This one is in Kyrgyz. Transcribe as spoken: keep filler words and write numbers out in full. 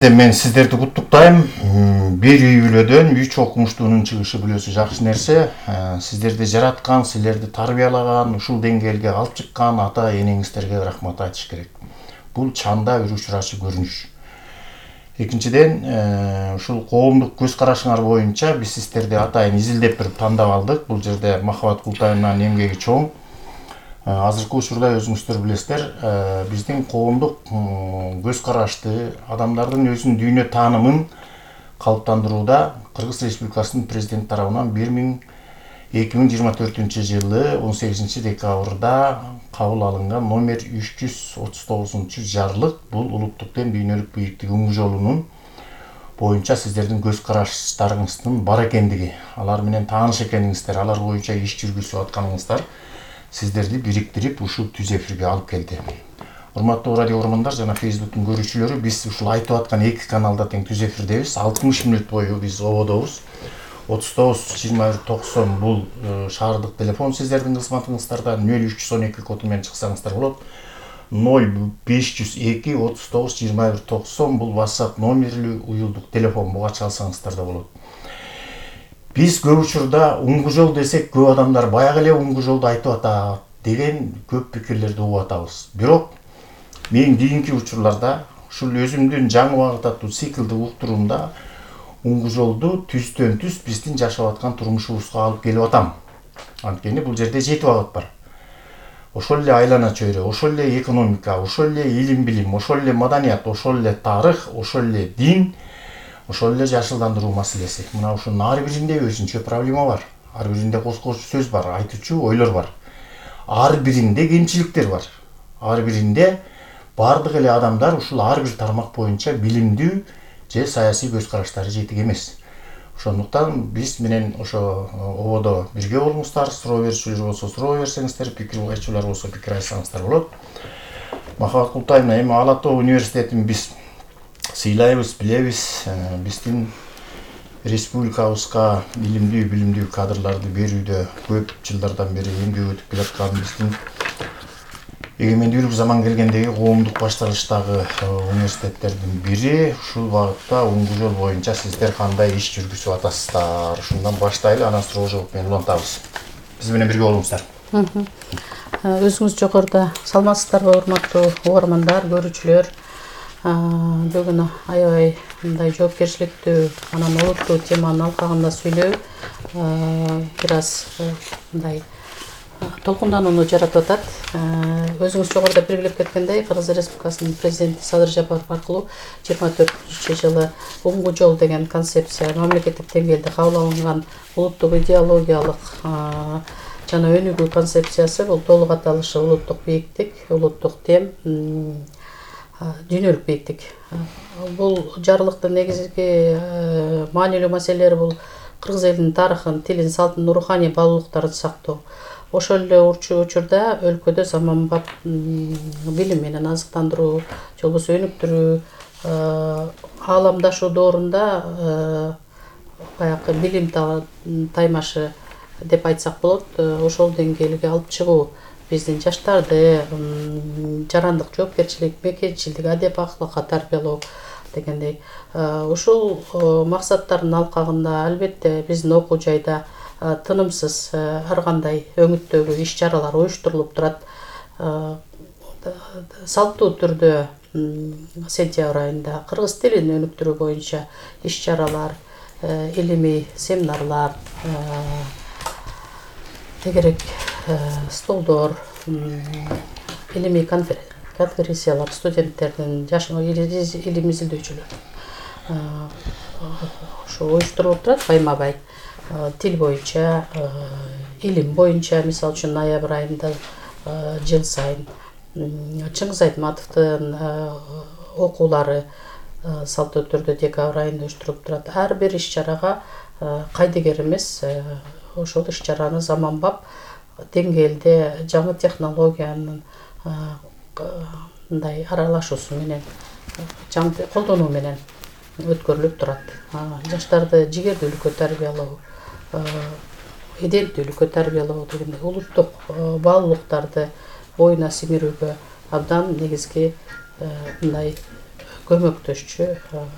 Мен сиздерди куттуктайм. Бир үй бүлөдөн үч окумуштуунун чыгышы бүлөсү жакшы нерсе. Сиздерди жараткан, силерди тарбиялаган, ушул деңгээлге алып чыккан ата энеңиздерге рахмат айтыш керек. Бул чанда үрүч ырачы көрүнүш. Экинчиден, ушул коомдук көз карашыңар боюнча биз сиздерди атайын изилдеп бирип тандап алдык. Бул жерде Махабат Култаевнанын эмгеги чоң. Азыркы учурда өзүңүздөр билесиздер, биздин коомдук көз карашты, адамдардын өзүнүн дүйнө таанымын калыптандырууда Кыргыз Республикасынын президенти тарабынан эки миң жыйырма төртүнчү жылы он сегизинчи декабрда кабыл алынган номер үч жүз отуз тогузунчу жарлык. Бул улуттук ден дүйнөлүк бийиктик үңгү жолунун боюнча сиздердин көз караштарыңыздын бар экендиги, алар менен тааныш экениңиздер, алар боюнча иш жүргүзүп атканыңыздар сиздерди бириктирип ушул түз эфирге алып келди. Урматтуу радио көрөрмандар жана Facebooktун көрүүчүлөрү, биз ушул айтып аткан эки каналда тең түз эфирдебиз. алтымыш мүнөт бою биз ободобуз. отуз тогуз жыйырма бир токсон бул шаардык телефон сиздердин кызматыңыздарда. нөл үч жүз он эки коду менен чыксаңыздар болот. нөл беш жүз эки отуз тогуз жыйырма бир токсон бул WhatsApp номерлүү уюлдук телефон. Буга чалсаңыздар да болот. Биз көп учурда уңгу жол десек, көп адамдар баягы эле уңгу жолду айтып атат деген көп пикирлерди угуп атабыз. Бирок мен кийинки учурларда ушул өзүмдүн жаңы убакыт аттуу циклди уктуруумда уңгу жолду түздөн түз биздин жашап аткан турмушубузга алып келип атам. Анткени бул жерде жети багыт бар. Ошол эле айлана чөйрө, ошол эле экономика, ошол эле илим билим, ошол эле маданият, ошол эле тарых, ошол эле дин, ошол эле жашылдандыруу маселеси. Мына ушунун ар биринде өзүнчө проблема бар. Ар биринде коскочу сөз бар, айтуучу ойлор бар. Ар биринде кемчиликтер бар. Ар биринде бардык эле адамдар ушул ар бир тармак боюнча билимдүү же саясий көз караштары жетик эмес. Ошондуктан биз менен ошо ободо бирге болуңуздар, суроо берүүчүлөр болсо суроо берсеңиздер, пикир айтчулар болсо пикир айтсаңыздар болот. Махабат Култаевна, эми Ала Тоо университетин биз сыйлайбыз, билебиз. Биздин республикабызга илимдүү, билимдүү кадрларды берүүдө көп жылдардан бери эмгек өтүп келаткан биздин эгемендүүлүк заман келгендеги коомдук башталыштагы университеттердин бири. Ушул багытта уңгу жол боюнча сиздер кандай иш жүргүзүп атасыздар? Ушундан баштайлы, анан суроо жооп менен улантабыз. Биз менен бирге болуңуздар. Өзүңүз жогоруда саламатсыздарбы, урматтуу угармандар, көрүүчүлөр? Бүгүн аябай мындай жоопкерчиликтүү, анан олуттуу теманын алкагында сүйлөө бир аз мындай толкунданууну жаратып атат. Өзүңүз жогоруда белгилеп кеткендей, Кыргыз Республикасынын президенти Садыр Жапаров аркылуу жыйырма төртүнчү жылы уңгу жол деген концепция мамлекеттик деңгээлде кабыл алынган улуттук идеологиялык жана өнүгүү концепциясы. Бул толук аталышы улуттук бийиктик, улуттук тем, дүйнөлүк бийиктик. Бул жарлыктын негизги маанилүү маселелери бул кыргыз элинин тарыхын, тилин, салтын, руханий баалуулуктарын сактоо. Ошол эле учурда өлкөдө заманбап билим менен азыктандыруу, же болбосо өнүктүрүү, ааламдашуу доорунда баягы билим таймашы деп айтсак болот, ошол деңгээлге алып чыгуу, биздин жаштарды жарандык, жоопкерчилик, мекенчилдик, адеп акылыкка тарбиялоо дегендей. Ушул максаттардын алкагында албетте биздин окуу жайда тынымсыз ар кандай өңүттөгү иш чаралар уюштурулуп турат. Салттуу түрдө сентябрь айында кыргыз тилин өнүктүрүү боюнча иш чаралар, илимий семинарлар, тегерек столдор, илимий конференциялар, студенттердин, жаш илим изилдөөчүлөр ошо уюштурулуп турат байма-бай. Тил боюнча, илим боюнча, мисалы үчүн ноябрь айында жыл сайын Чыңгыз Айтматовдун окуулары салттуу түрдө декабрь айында уюштурулуп турат. Ар бир иш чарага кайдыгер эмес, ошол иш чараны заманбап деңгээлде жаңы технологиянын мындай аралашуусу менен, жаңы колдонуу менен өткөрүлүп турат. Жаштарды жигердүүлүккө тарбиялоо, эденттүүлүккө тарбиялоо дегендей улуттук баалуулуктарды боюна сиңирүүгө абдан негизги мындай көмөктөшчү